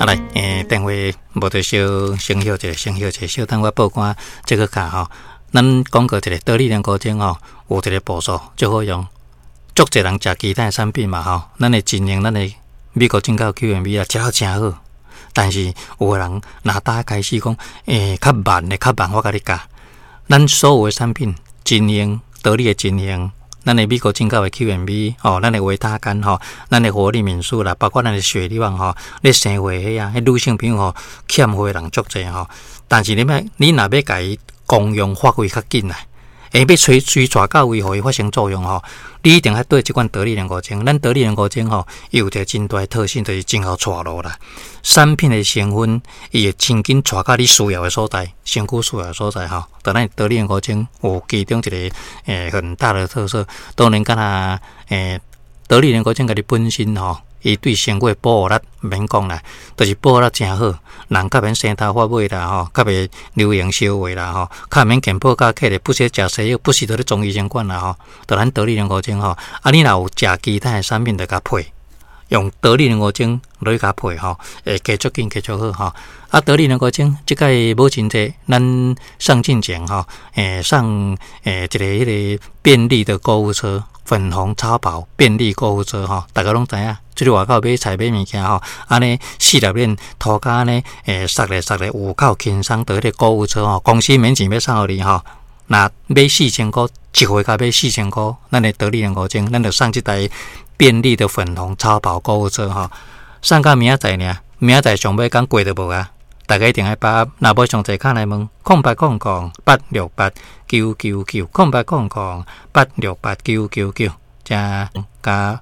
啊來，電話無就小先歇一下，先歇一下，小等我報官這個卡吼。咱講過一个得力人高精吼，有一个步數足好用，足濟人食其他的產品嘛吼。咱的經營，咱的美國進口 QMB 啊，食了誠好。但是有的人若打開始講，較慢的較慢，我共你教。咱所有的產品經營，得力的經營，咱的美國進口的 QMB 吼，咱的維他乾吼，咱的活力敏素啦，包括咱的雪莉旺吼，咧生貨彼啊，彼女性朋友吼，欠貨的人足濟吼。但是你欲，你若欲共伊功用發揮較緊啊，欲催催帶到位，予伊發生作用吼，你一定愛對這款得力人五精。咱得力人五精吼，伊有一个真大的特性，就是真𠢕帶路啦。產品的成分，伊會真緊帶到你需要的所在，身軀需要的所在吼。當咱得力人五精有其中一个很大的特色，當然敢若得力人五精家己本身吼，伊對身軀的保護力毋免講啦，就是保護力誠好，人較免生頭髮尾啦吼，較袂流言燒話啦吼，較免健保卡客咧，不時食西藥，不時都咧中醫生管啦吼。就咱得力人五精吼，啊，你若有食其他的產品，就共配，用得力人五精落去共配吼，會加足緊，加足好吼。啊，得力人五精，這擺母親節，咱送進前吼，送一个彼个便利的購物車。粉紅超跑便利購物車吼，大家攏知影，出去外口買菜買物件吼，按呢四粒鏈塗跤按呢，捒咧捒咧有夠輕鬆的彼个購物車吼，公司免錢欲送予你吼。若買4000箍，一回共買四千箍，咱的得力人五精，咱就送這台便利的粉紅超跑購物車吼，送到明仔載爾，明仔載上尾工過就無啊。大家一定愛把握，若無詳細敲來問，0800868999，0800868999，遮共